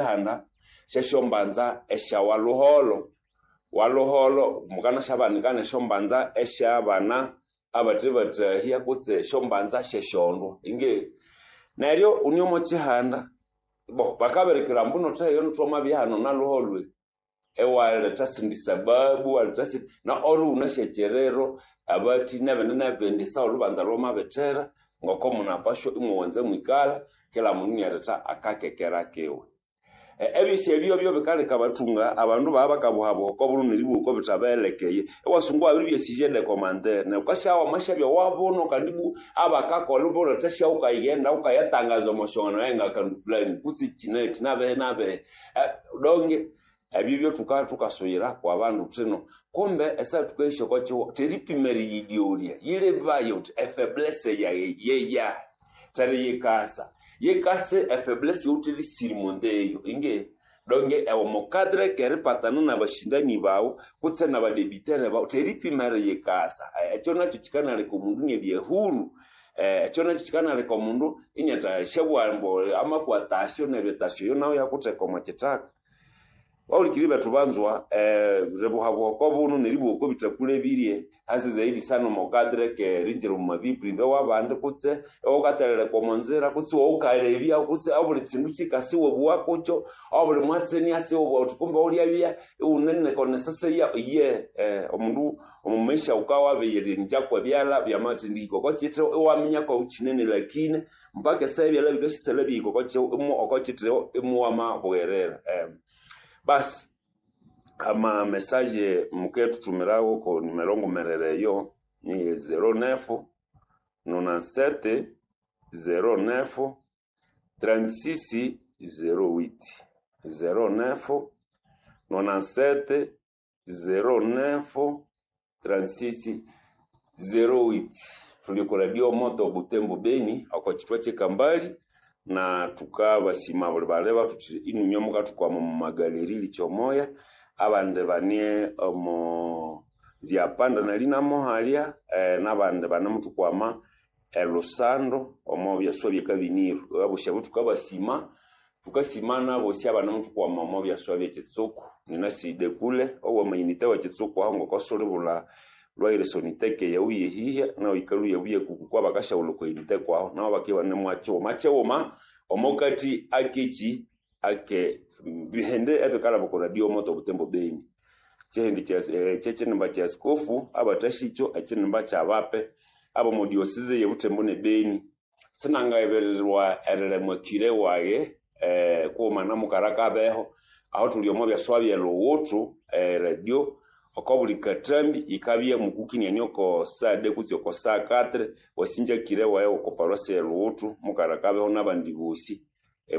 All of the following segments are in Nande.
Chihanda syesyombanza esya Waluholo. Waluholo mukanasyabanika nesyombanza esyabana abathe bathahya kutse esyombanza syesyondwa. Inge neryo une omo kihanda bo bakabirikira ambu theheyo thwamabya hano Naluholo iwaletha esindi sababu iwaletha esindi na ori wunasi ekyiriro abathi nebindi nebindi esaha olhubanza lwamabithira ngoko munapashwa imwawanza mwikalha kila mundu inialetha akakekera kiwe. Ebyosi ebyo byo bikaleka abathunga abandu babya bakabuhabuha oko buno neribugha oko bithabaghilekeye iwasunga iwabiribya sujet de commentaire neryo wukasya wamasyabya owabuno kandi ibwa abakakolha ibuletha wukayighenda wukayatangaza omo syongano ngakandu fulani kutse kyinakyi nabihi nabihi donge ebyo byo thukasuyira kwa bandu thino kumbe esaha thukayisya oko kihugho theripima eriyilyolya yilebaye wuthi efaiblesse yayi yeyahi theriyikasa yikase efaiblesse yawuthe erisirimunda eyo inge donge omo cadre keripatana nabashindani bawu kutse nabadebitere bawu theripima eriyikasa ekyo nakyo kyikanaleka omundu iniabya huru ekyo nakyo kyikanaleka omundu iniathasyabugha ambu amakwa tasyo neryo etasyo eyo nayo iyakutheka omo kithaka. Bahulikiriri bethu banzwa ribuhabuha oko buno neribugha oko bithakulebirye hasa zaidi sana omo cadre keringira omu vie privée wabandi kutse iwawukatheleleka omo nzira kutse iwawukalebya kutse obuli kyindu kyikasa iwabugha kukyo obuli mwatsi iniasa iwabugha wuthi kumbe wulyabya iwunene koneseseya iye omundu omu maisha wukawabiyirindya kwebyalha byamathendihika oko kyitheho iwaminya kwawukyinene lakini mpaka esaha ebyalha bikasyasalha bihika oko kyitheho imuwamabugherera. Basi ama message mukethuthumirawo ko numero ngumerere eyo ni 09 97 09 36 08 09 97 09 36 08 tuli ku Radio Moto Butembo Beni oko kyithwa kyekambali na tukabasima buli baleba thuthi inunywe mukathukwama omu magaleri likyomoya abandi bane omo zyapanda nalinamohalya nabandi banemuthukwama elusando omo byaswa byekabiniru abosi abo thukabasima thukasima nabosi abanemuthukwama omo byaswa byekyitsuku ninaside kule owamayinite wa kyitsuku aho ngokosulibulha lwairesoniteke yawu yehihya nawu yikalhuya buya kuku kwabakasyaghulha okwa unité kwaho nabo bakibya ibanemwakighuma kighuma omokati akekyi ake bihende ebikalhaba oko Radio Moto Butembo Beni kyihindi kyekyinimba kya askofu abathasyikyo ekyinimba kyabape abomo diocese ye Butembo ne Beni sinangayibirirwa erilemwa kire wayi kughuma na mukara kabeho aho thuli omo byaswa byelhughuthu radio oko buli kathambi yikabya mukukiniania oko saa 2 kutse oko saa 4 wasinja kire wayi oko parosi elhughuthu mukara kabeho nabandi bosi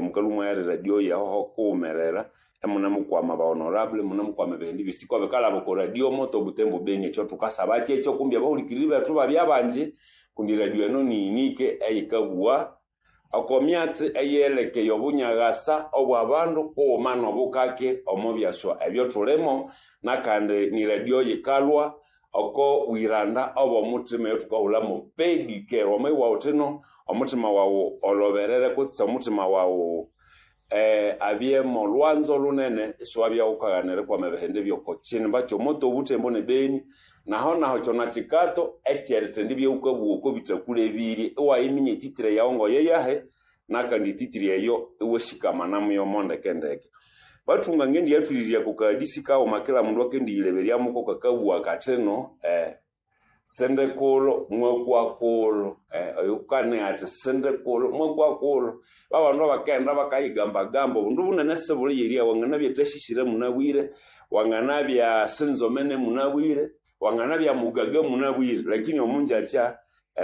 mukalhwa imwaya radio yaho kughumerera imunemukwama ba honorable munemukwama ebihindi byosi kwabikalhaba oko Radio Moto Butembo Beni ekyo thukasaba kyekyo kumbi abahulikiriri bethu babya bangi kundi radio eno ni unique eyikabugha oko myatsi eyelekeye obunyaghasa obwabandu kughuma nobukake omo byaswa ebyothulimo nakandi ni radio yikalhwa oko bwiranda obwomuthima eyothukahulhamu pedicare wamabugha wuthino omuthima wawu olhoberere kutse omuthima wawu abye molwanzo lunene isiwabya wukaghanira erikwama ebihindi byoko kyinimba kyomoto Obutembo ne Beni naho naho kyona kyikato ekyerithendibya wukabugha oko bithakulebirye iwayiminya etitire yawu ngoyeyahi nakandi etitire eyo iwashikamanamu mo ndekendeke. Bathunga ngendiyathulirya kukadisi kaghuma kila mundu akendiyileberyamuko kakabugha kathino sindikulo mwakwakulo oyukane athi sindikulo mwakwakulo babandu abakaghenda bakayigambagamba obundu bunene sibuli wanganabya thashishire munabwire wanganabya sinzomene munabwire wanganabya mugaga munabwire lakini omunjakya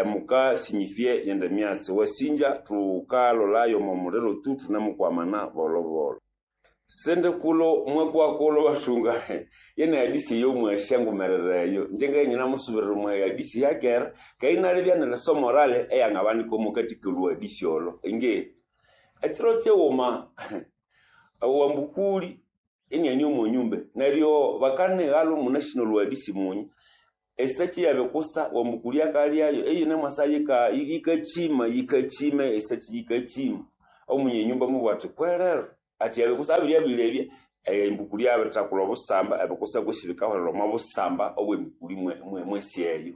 mukasinyifye yende myatsi wasinja thukalolayo omo muliro tu thunemukwamana bolobolo sindikulo mwakwakulo bathunga yene hadisi eyo mwasyangumerera eyo inje nganyinamusubirira omwa hadisi yakera kayinalibya neleso morale eyangabanika omukati kolhuhadisi olho inge ekiro kyighuma wambukuli iniani omo nyumba neryo bakanighalha omunashina olhuhadisi munyi esaki yabikusa wambukuli akalyayo eyine mwasa yikakyima yikakyima esaki yikakyima omunye nyumba mubugha athi kwerero. Ati ebikusa abiryabilebya embukuli yabirithekulha obusamba, ebikusa kwesi bikahwerera omo busamba obwembukuli mwesi eyo.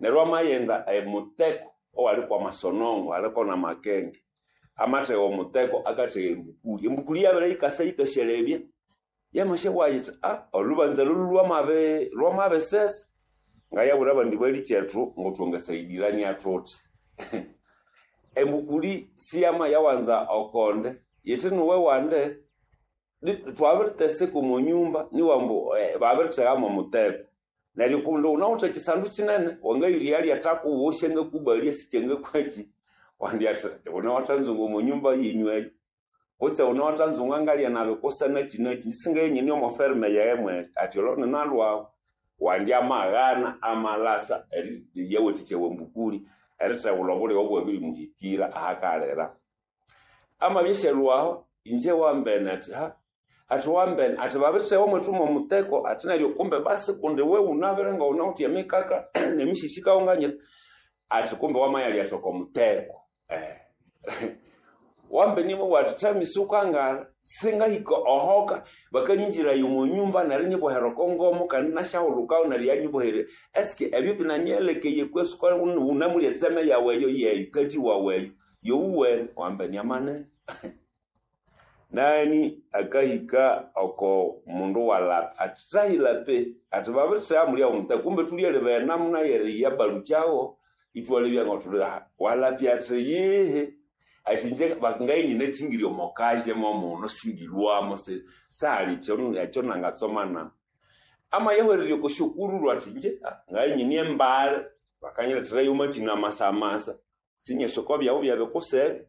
Neryo wamaghenda emuteko owali kw'amasonongo aliko n'amakenge, amathegha omuteko akathegha embukuli. Embukuli yabere yikasa yikasyalebya, yamasyabugha yithi olhubanza lolhu lwamabisesa. Ngayabwira abandi balikyethu ngothwangasayidilania thuthi. Embukuli siyamayawanza okonde, yithi nuwe wande thwabiriteseka omo nyumba niwa ambu babirithega mw'omuteko. Neryo kundi wunawithe ekisandu kinene, wangayira eyalyathako wosi angakubalya sikyangakwaki, wandi athi wunawathanzunga omo nyumba yenyu eyo. Kutse wunawathanzunga ngalya nabikusa naki naki, isingaye omo ferme yaghe mweri, athi olho ninalhwahu. Wandi amaghana amalasa eriyawathikya embukuli erithegulha obulighe obwabirimuhikira ahakalira. Amabya asyalhwaho, inje wambene athi athi wambene athi babirithegha omwethu mw'omuteko athi neryo kumbe basi kundi iwe wunabire ngawunawithe emikaka n'emisisi kawunganyira athi kumbe wamayalyathi oko muteko. Wambene imwabugha athi thamisi wukangara singahika ohoka bakanyinjiraya omo nyumba neryo inyibohera oko ngomo kandi inasyahulukayo neryo yanyibohererya. Eske ebyo binanyelekeye kwesi wunamulya etseme yawu eyo yeyo kathi wawu eyo yowuwene? Wambene amanene. Nani akahika oko mundu walapa athi thahilape athi babirithegha mulya omuteko kumbe thulyalebaya enamuna y'eriyabalukyawo ithwalebya ngothuli walapya athi yihi athi inje ngaye nyinakyingirya omo kaje mwomuno singilhwamo sihali ekyo nangatsoma nahu. Amayahwererya oko syokururu athi inje ngaye nyine embali bakanyiletherayo amathina amasamasa sinyasi oko byabu byebikusebe.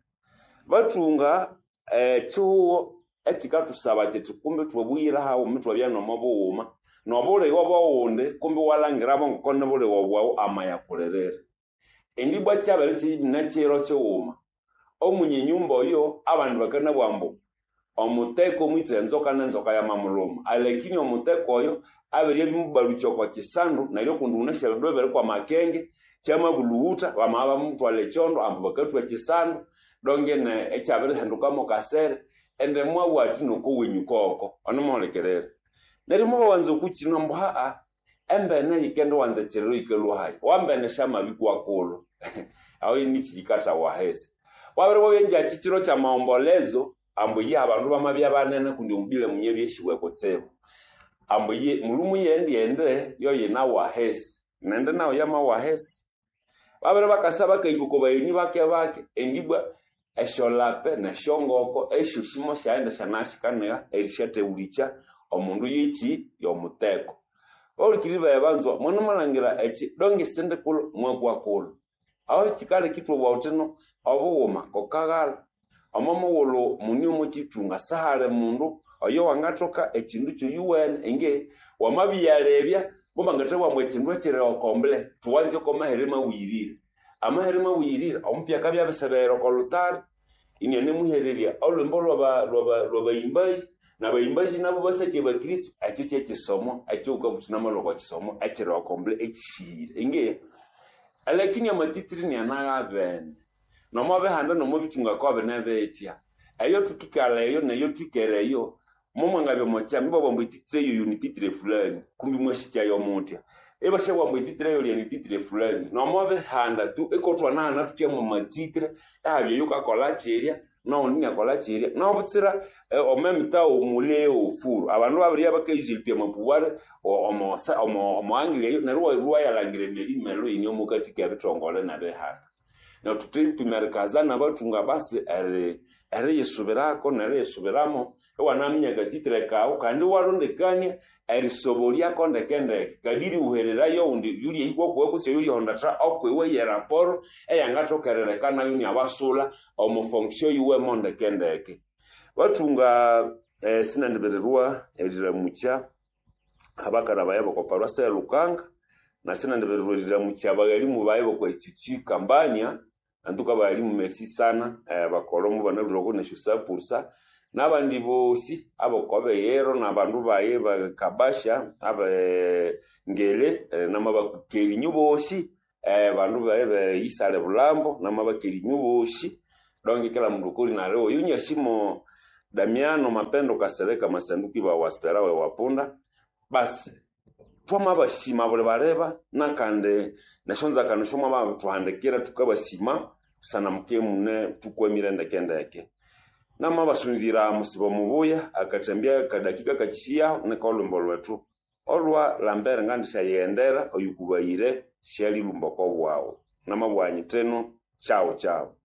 Bathunga ekihugho ekikathusaba kyithi kumbe thwabuyira haghuma ithwabya nomo bughuma n'obulighe obw'oghundi kumbe iwalhangirabo ngoko nibulighe bwaghu amayakulirira. Indi ibwa kyabere kino kighuma, omunye nyumba oyo abandu bakanabugha ambu omuteko mwithe enzoka n'enzoka yamamulhuma, alakini omuteko oyo abiryamubalukya oko kisandu neryo kundi wunasi ebindu ebiri kw'amakenge kyamabulhughutha bamabya bamuthwalha ekyondo ambu bakathwa ekisandu dongene ekyabirihinduka mo kasere indi mwabugha athi noko wenyu koko onomuhulikirira. Neryo mobawanza okukino ambu embene yikendiwanza ekiriro yikalhwa hayi, wambene syamabikwa kulhu aho nikyikathawa ahisi. Wabiribwa engyakyi kiro ky'amaombolezo ambu ye abandu bamabya banene kundi omubile munyabyesiwe kutsibu. Ambu ye mulhumu yendyende yoyinawa ahisi nende nayo yamawa ahisi. Babere bakasa bakahika oko bagheni bake bake indi ibwa esyolape n'esyongoko esyosi mosyaghenda syanashikanigha erisyathewulikya omundu yekyi y'omuteko. Bahulikiriri baghe banzwa mwanumalhangira ekyi donge sindikulhu mwakwa kulhu. Aho kyikaleka ithwabugha thuthino obughuma kokaghalha. Omo mughulhu muni omo kyithunga sihali mundu oyo wangathoka ekyindu kyoyuwene inge wamabiyalebya mubangathabugha ambu ekyindu ekyiri okombule thuwanze oko mahere mabuyirire. Amahere mabuyirire omupya akabya abisebeghera oko lhutari inianemuhererya olhwimbo lhwabayimbayi n'abayimbayi nabo basakya abakristo ekyo kyekyisomo ekyowukabuthi namalhwa oko kisomo ekyiri okombule ekyisihire. Inge alakini amatitiri inianaghabene nomo bihanda nomo bithunga kobine bithya. Eyo thukikalha eyo neyo thwikere eyo momwangabya omo kyama ibabugha ambu etitiri eyoyo nititiri fulani kumbi mwasikyayo muthya. Ibasyabugha ambu etitiri eyolya nititiri fulani nomo bihanda tu ikothwanahana thuthya mwa matitiri ehabya oyukakolha kyirya n'oghundi iniakolha kyirya nobutsira omo emitagho muli ofuru. Abandu babiribya bakayizilipya amapuware omo angle eyo neryo iwayalhangira emirimelo eyine omukathi k'ebithongole n'ebihanda. Neryo thuthipima erikazana abathunga basi eriyisubirako neriyisubiramo iwanaminya akatitire kawu kandi iwarondekania erisobolyako ndekendeke kadiri iwuhererayo oghundi yulyahika okwiwe kutse oyulyahondatha okwiwe yeraporo eyangathoka erileka nayo iniabasulha omo fonction yiwemo ndekendeke. Bathunga sinandibirirwa eriramukya abakara bayi b'oko paroisse ya Lukanga na sinandibirirwa eriramukya abaghalimu bayi b'oko institut Kambania antuka abaghalimu merci sana bakolha mubanalhwire oko nesyo sapursa n'abandi bosi ab'okobeyero n'abandu bayi bakabasha abe ngele namabakerinyu bosi bandu bayi be Isale Bulambo namabakerinyu bosi donge kila mundu okori nali oyo nyasimo. Damiano Mapendo Kasereka Masanduku iba waspera we wapunda. Basi twamabasima buli baleba nakandi nesyonzakano syomwababithuhandikira tukabasima busana mukibya imune thukwamire ndeke-ndeke. Namabasunzira musibo mubuya akathambya akadakika kakishiyaho niko olhwimbo lwethu olwa Lambert ngandishyayighendera oyukubayire syalilhumba oko bwaghu. Namabugha nyithino chao chao.